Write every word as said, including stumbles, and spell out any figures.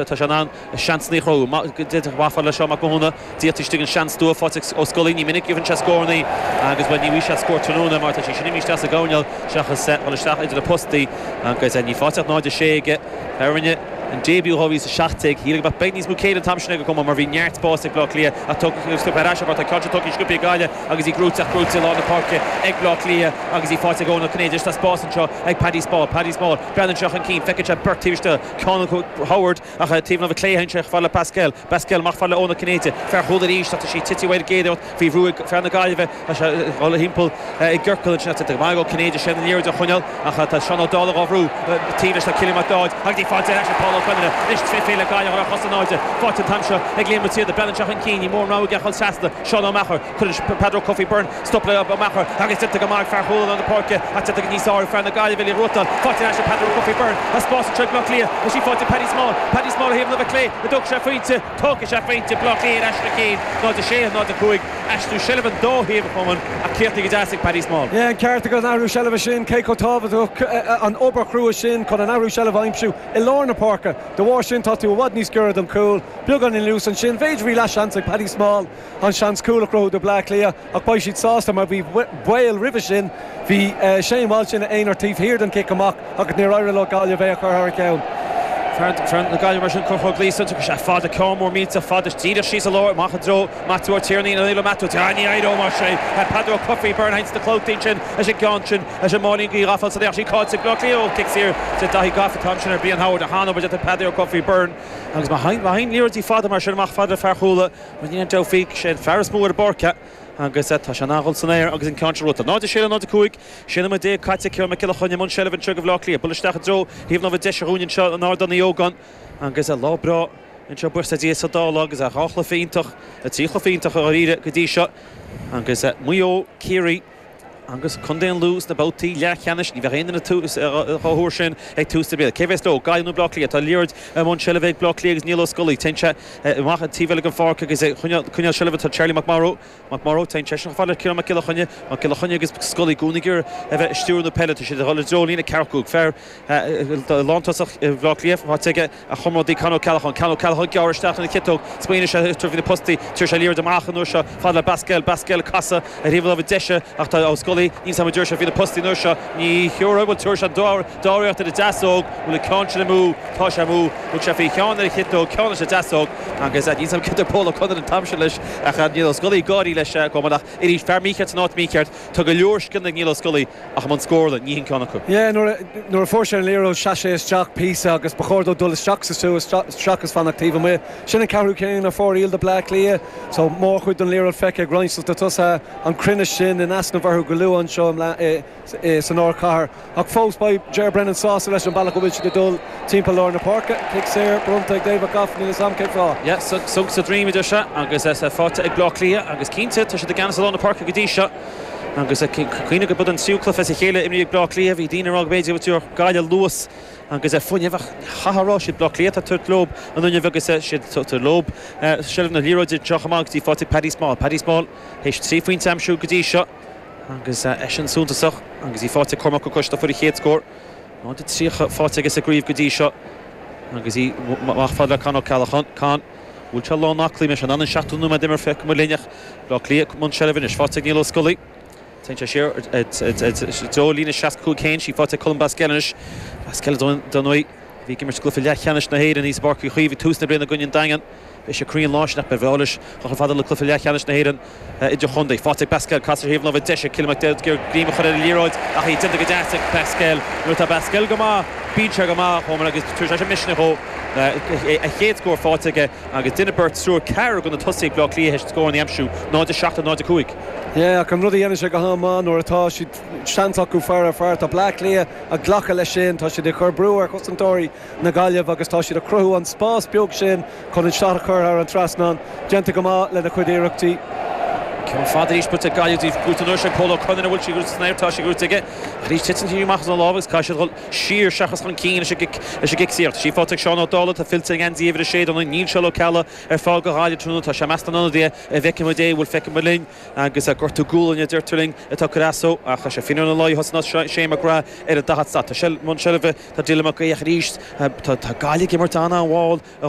Tá sé in ann seansanna a chruthú. Amach fad le Seán Mac Mathúna, déanta istigh an seans dua faighte ag Ó Scolaí. Ní minic a gheibheann sé scóranna agus bhuel ní bhfaighidh sé scór tráthnóna mar tá sí sin imithe isteach sa gcoirnéal seachas dul isteach idir na postaí agus ní faighte ach náid a sé aige. A rinne an début dhá mhíle is a seacht déag. Shíl go mbeadh beag níos mó céille an t-am sin ag an gcumann mar bhí neart spáis ag Bleá Cliath ach tugtar ar ais mar tá ceann seo tugtha sciobtha ag Gaillimh agus í gnóite ach gnóite i lár na páirce ag Bleá Cliath agus í faighte ag Eoin Ó Cinnéide. Tá spás anseo ag Paddy Small. Paddy Small breathnaíonn sé chun cinn, feiceann sé beirt taobh istigh, ceann acu Howard ach taobh na clé sé fad le Pascal. Pascal amach fad le Eoin Ó Cinnéide. Fear Chuala arís ach tá sí tite uaidh an gcéad faoi bhrú ag fear na Gaillimhe. Tá sé ag dul thimpeall i gciorcal ansin ach go maith ó Cinnéide sé an liathróid a choinneáil ach tá Seán Ó Dálaigh á bhrú taobh leis tá Cillian Mac Dáid agus í faighte ar ais ag Paul Ó Conaire. Anois tré féile Gaillimh ar chos in airde. Faighte an t-am seo ag Liam Ó Tiarda. Breathnaíonn sé chun cinn, ní mór an rogha aige a dhul trasna. Seán Ó Meachair. Cuireann Peadar Ó Cofaigh Byrne stop le Ó Meachair agus déanta go maith ag fear Chuala na páirce ach déanta go níos fearr fear na Gaillimhe le ruatáil. Faighte ar ais ag Peadar Ó Cofaigh Byrne. Tá spás anseo ag Bleá Cliath. Tá sí faighte Paddy Small. Paddy Small a thaobh na clé. An dtógfaidh sé pointe. Tógfaidh sé pointe Bleá Cliath ar ais na cinn. Náid a sé, náid a cúig. Aistriú seilbhe an dá thaobh chumann ach críochnaithe go deas ag Paddy Small. Yeah, an ceart agat an athrú seilbhe sin cé chomh tábhachtach an obair chrua sin chun an athrú seilbhe a aimsiú i lár na páirce. De bharr sin tá tú i bhfad níos giorra don chúl, beagán in luas ansin, b'fhéidir bhí leathsheans ag Paddy Small an seans cúl a chruthú do Bleá Cliath ach beidh siad sásta mar bhí baol roimhe sin bhí Shane Walsh ina aonar taobh thiar den cic amach agus níor éirigh le Gaillimh é a chur thar a ceann. Fear na Gaillimhe mar sin Conchúr Gleeson tugann sé fada ceann mór millteach fada díreach síos i lár amach i dtreo Matthew Ó Tiarnaí an le Matthew Tá ní éireoidh mar sé Peadar Ó Cofaigh Byrne sna clabhtaí sin leis an gceann sin leis an máilín gaoth ghafa sa sí cáilte Bleá Cliath ó cic saor de Daithí Gafa t-am sin ar Brian Howard a hana de Peadar Ó Cofaigh Byrne agus má théann liathróidí fada mar sin amach fada le fear Chuala mar ní an deifíc sé an fear is mó ar an bpáirc agus tá sé an-dul san aer agus an ceann seo rota. Náid sé náid cúig sé nóiméad déag caite Ciarán Mac Giolla Chainnigh i mbun seilbhe anseo do Bhleá Cliath. Buail isteach i dtreo thaobh na deise dhúinn anseo in Ardán Uí Ógáin agus lá breá anseo buíochas le Dia sa dá lá agus a dhá chluiche iontach a trí chluiche iontach a dháiríre go dtí seo agus Maigh Eo Ciarraí agus Contae an Lú sna babhtaí leathcheannais ní bheadh aon duine dhá thuar sin ag tús na bliana. Cé bheas leo Gaillimh nó Bleá Cliath tá liathróid i mbun seilbhe ag Bleá Cliath agus Niall Ó Scolaí Téann sé amach an taobh eile den pháirc agus coinneáil seilbhe tá Charlie McMorrow McMorrow téann sé sin fad le Ciarán Mac Giolla Chainnigh Mac Giolla Chainnigh agus Scolaí i gcónaí a bheith ag stiúradh na peile tá siad ag dul i dtreo líne ceathracha cúig fear lántosach Bhleá Cliath faighte aige a chomrádaí Con Ó Ceallacháin Con Ó Ceallacháin gearr isteach ina chiotóg smaoinigh sé tar na postaí tar sé liathróid amach an uair seo fad le Basquel Basquel casadh ar thaobh láimhe deise ach tá Ó Scolaí níl sam dúir sé bhí na postaí an uair seo ní thiúrtha bhfuil tuair sé dáiríocht ar a deasóg bhfuil an ceann sin amú tá sé amú thug sé faoi cheann ar a chiotóg ceann leis a deasóg agus níl sam cad a Paul O'Connor an t-am sin leis ach Niall Ó Scolaí gáirí leis go ach arís fear mícheart san áit mícheart tá go leor scileanna ag Niall Ó Scolaí ach an scórála ní hin ceann acu. Yeah, nuair a fuair sé an liathróid sheas sé isteach píosa agus ba chóir dó dul isteach sa sú isteach fanacht taobh amuigh. Sin an ceathrú ceann a fuair do Bleá Cliath, so mórchuid den liathróid feicthe ag roinnt de tosaithe an cruinneas sin in easnamh orthu go luath anseo san ardchathair. Ach fós beidh Ger Brennan sásta leis an bealach go bhfuil siad ag dul timpeall lár na páirce, Cic saor bronnta ag David Goff níl am cé fá. Yeah, so sa dream idir se agus é faighte ag Bleá Cliath agus cinnte tá siad i gceannas i lár na páirce go dtí seo. Agus cuimhnigh go bud an tríú cluiche as a chéile imrithe ag Bleá Cliath bhí daoine rá go b'fhéidir go Gaillimh luas agus é fuinneamh chaithfeá siad Bleá Cliath tá lób an fhuinneamh agus siad lób seilbh na liathróide seo amach dtí faighte Paddy Small. Paddy Small théis trí phointe a aimsiú go dtí seo agus eisean suntasach agus í faighte Cormac Ó Coiste fuair a chéad scór. Ná de tríocha faighte agus a gríomh go dtí seo agus í amach fad le Con Ó Ceallacháin Con bhfuil sé lán aclaí me an an seachtó nóiméad imeartha feic mo linneach Bleá Cliath i mbun seilbhe anois faighte ag Niall Ó Scolaí. Téann sé siar deo líne seasca cúig céin sí faighte Colm Basquel anois Basquel don bhí ag imirt cluiche leathcheannais na hÉireann níos Páirc Uí Chaoimh tús na bliana i gcoinne an Daingean. Bhí sé cruinn lá sin ach ba bheális chun fada le cluiche leathcheannais na hÉireann idir chontae. Faighte Basquel cas ar thaobh láimhe deise Cillian McDaid greim a chur ar an liathróid ach í déanta go deas ag Basquel. Nuair atá Basquel go maith bíonn sé go maith chomh agus tar sé misneach ó a chéad scór faighte aige agus duine beirt triúr ceathair go na tosaithe Bleá Cliath scór an aimsiú náid a seacht náid a cúig. Yeah, ach an rud a dhéanann sé go han-mhaith nuair atá siad seans acu fear ar fear tá Bleá Cliath ag glacadh leis sin, tá siad ag chur brú ar chosantóirí na Gaillimh agus tá siad ag cruthú an spás beag sin chun an seat a chur thar an trasnán, déanta go maith lena chuid iarrachtaí. Ceann fada arís buailte ag Gaillimh buailte an uair sin Pól Ó Conaire bhfuil sí san aer tá sí buailte aige arís titeann sí amach as an lámh agus caithfidh siad dul siar seachas chun cinn leis an gcic saor. Sí faighte ag Seán Ó Dálaigh tá fillte ag geansaí uimhir a sé don níl Seán Ó Ceallaigh ar fáil do Ghaillimh tráthnóna tá sé measta ionadaí a bhfeicfidh muid é bhfuil feicfidh muid linn agus gortú gualainne deirtear linn atá curasó ach sé fin na lá hosna sé McGrath ar a daichead slat. Tá sé mun seilbhe tá Dylan Mac Gaoch arís tá Gaillimh ag imirt an-mhall a